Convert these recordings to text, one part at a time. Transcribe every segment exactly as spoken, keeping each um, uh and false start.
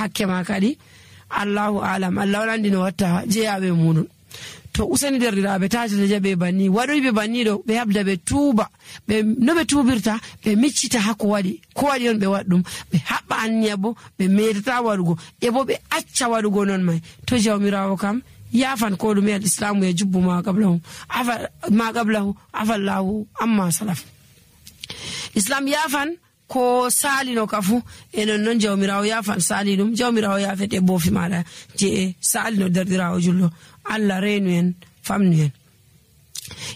hakke ma kadi. Allahu alam, Allah on anndi no watta jeyaaɓe e muɗum. To useni derɗiraaɓe, taajata jaɓe banni, waɗoyɓe banni ɗo, ɓe habda ɓe tuuba, ɓe, no ɓe tuubirta, ɓe miccita haa ko waɗi, ko waɗi on ɓe waɗ ɗum, ɓe haɓɓa anniya bo, ɓe meetata waɗugo, e bo ɓe acca waɗugo non may. To Jawmiraawo kam yaafan ko ɗume, al islaamu ya jubbu ma qablahu, afa, ma qablahu, afa Allahu amma salaf. Islam yaafan ko saalino ka fuu, e non non Jawmiraawo yaafan saali ɗum, Jawmiraawo yaafete boofi maaɗa je e saalino derɗiraawo julɗo. Allah reenu en, famnu en.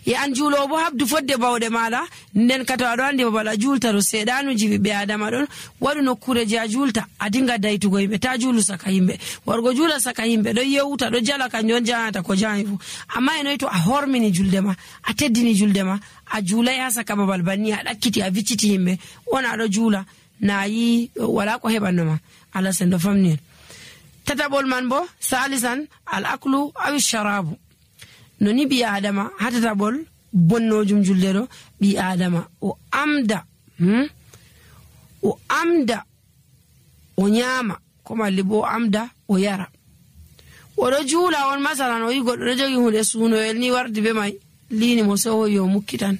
E an juuloowo bo, habdu fodde bawɗe maaɗa, nden ka to aɗo anndi babal a juulta ɗo, seeɗaanuuji ɓiɓɓe Aadama ɗon, waɗu nokkuure je a juulta, a dinga daytugo yimɓe, ta juulu saka yimɓe. Wargo juula saka yimɓe, ɗo yewta, ɗo jala, kanjum on jahanata ko jahan fuu. Amma e noy to a hormini julde ma, a teddini julde ma, a juulay haa saka babal banni, a ɗakkiti, a vicciti yimɓe, on aɗo juula, na yi, wala ko heɓanno ma. Allah sendo famni en. Tataɓol man bo, salisan, al aklu awi sharabu. No ni ɓii Aadama, haa tataɓol bonnoojum julde ɗo, ɓii Aadama o amda, hmm? O amda, o nyaama, ko malli bo o amda, o yara. O ɗo juula on, masalan, o yi goɗɗo ɗo jogi huunde suunoyel ni wardi be may, liini mo, sey o hoyi o mukkitan.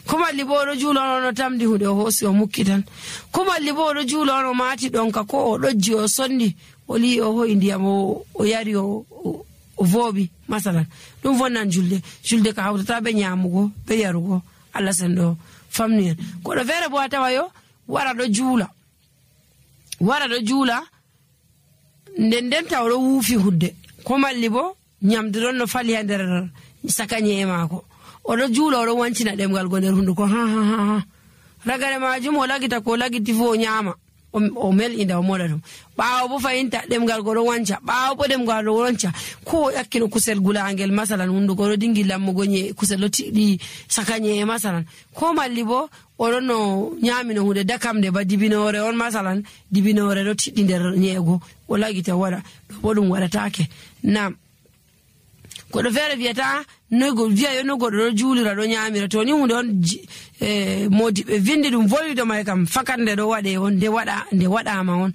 Ko malli bo o ɗo juula on, o ɗo tamdi huunde, o hoosi o mukkitan. Ko malli bo o ɗo juula on, o maati ɗonka, ko o ɗojji, o sondi, o lii'i, o hoyi ndiyam, o, o yari, o, o, o vooɓi, masalan. Ɗum vonnan julde. Julde ka hawtata be nyaamugo, be yarugo. Allah sendo famni en. Goɗɗo feere bo a tawa yo wara ɗo juula. Wara ɗo juula, nden nden taw ɗo wuufi hudde. Ko malli bo nyamdu ɗon no fali haa nder saka nye'e maako. O ɗo juula, o ɗo wancina ɗemngal go nder hunduko. Ha, ha, ha, ha. Ragare maajum o lagita ko o lagiti fuu o nyaama. O, o mel'inda, o moɗa ɗum. Ɓaawo bo fahinta ɗemngal go ɗo wanca. Ɓaawo bo ɗemngal ɗo wanca. Ko o ƴakkino kusel gulaangel, masalan, hunduko ɗo dingi lammugo nye'e, kusel ɗo tiɗɗi saka nye'e, masalan. Ko malli bo o ɗon no nyaamino huunde dakamnde ba dibinoore on, masalan, dibinoore ɗo tiɗɗi nder nye'e go. O lagita waɗa. Ɗo bo ɗum waɗataake. Naam. Goɗɗo feere wiyata, noy go-, wiya yo no goɗɗo ɗo juulira, ɗo nyaamira. To ni huunde on ji-, e, moodi ɓe vindi ɗum, voli ɗo may kam, fakat nde ɗo waɗe on, nde waɗa, nde waɗaama on.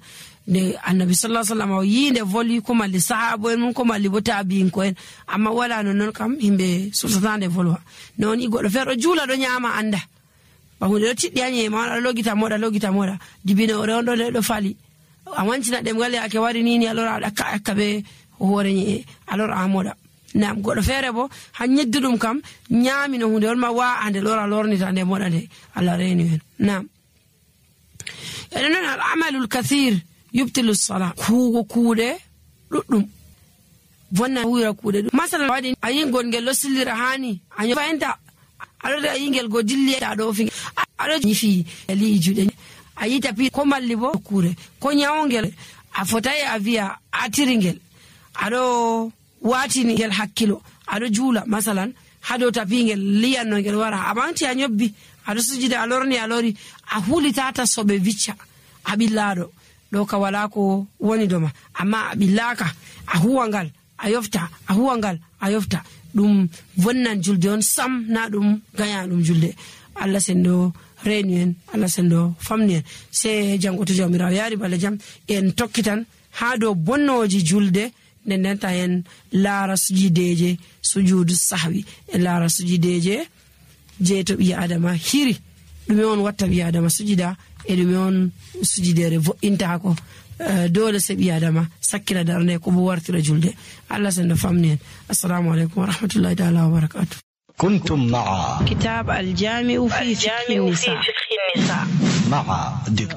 Nde Annabi sallallahu alaihi wasallam o yii nde voli, ko malli sahaabo en mum, ko malli bo taabi'inko en. Amma wala non non kam, yimɓe sosata nde volwa. Non i goɗɗo feere ɗo juula, ɗo nyaama, annda. Ba huunde ɗo tiɗɗi haa nye'e ma, on aɗa logita moɗa, logita moɗa. Dibinoore on ɗo nde ɗo fali. A wancina ɗemngal yaake wari ni ni, alors a ɗakka, ɗakka be hoore nye'e, alors a moɗa. Naam, goɗɗo feere bo, haa nyedduɗum kam, nyaamino huunde on ma, wa a nde lora, lornita nde, moɗa nde. Allah reeni en. Naam. Enen non, al amalul kathir yubtilu sala. Kuugo kuuɗe ɗuɗɗum. Vonna wira kuuɗe ɗum. Masalan, waɗi a yi ngol ngel ɗo sillira haa ni. A nyo-, fayinta. Aɗo de a yi ngel go dilli, a ɗo fi. A-, aɗo nyifi e li'i juuɗe. A yi tapi ko malli bo kuure. Ko nyawngel. A fotay a viya a tiri ngel. Aɗo waatini ngel hakkilo. Aɗo juula, masalan, haa dow tapi ngel liyanno ngel wara. A ɓaŋgti a nyobbi. Aɗo sujida a lorni a lori. A hulitata soɓe vicca. A ɓillaaɗo. Ɗo ka wala ko woni doma. Amma a ɓillaaka. A huwa ngal. A yofta, a huwa ngal, a yofta. Ɗum vonnan julde on sam, na ɗum gaña ɗum julde. Allah sendo reenu en, Allah sendo famni en. Se janngo to Jawmiraawo yaari bala jam, en tokkitan haa dow bonnooji julde, nden nden ta en laara sujideeje, sujuudu sahwi, en laara sujideeje, je to ɓii Adama hiri, ɗume on watta ɓii Adama sujida, e ɗume on sujideere vo'intaako. Eh, dole se ɓii Adama sakkina darnde ko bo wartira julde. Allah sendo famni en. Assalamu alaikum wa rahmatullahi ta'ala wa barakatuh. كنتم مع كتاب الجامع في فقه النساء. مع دكتور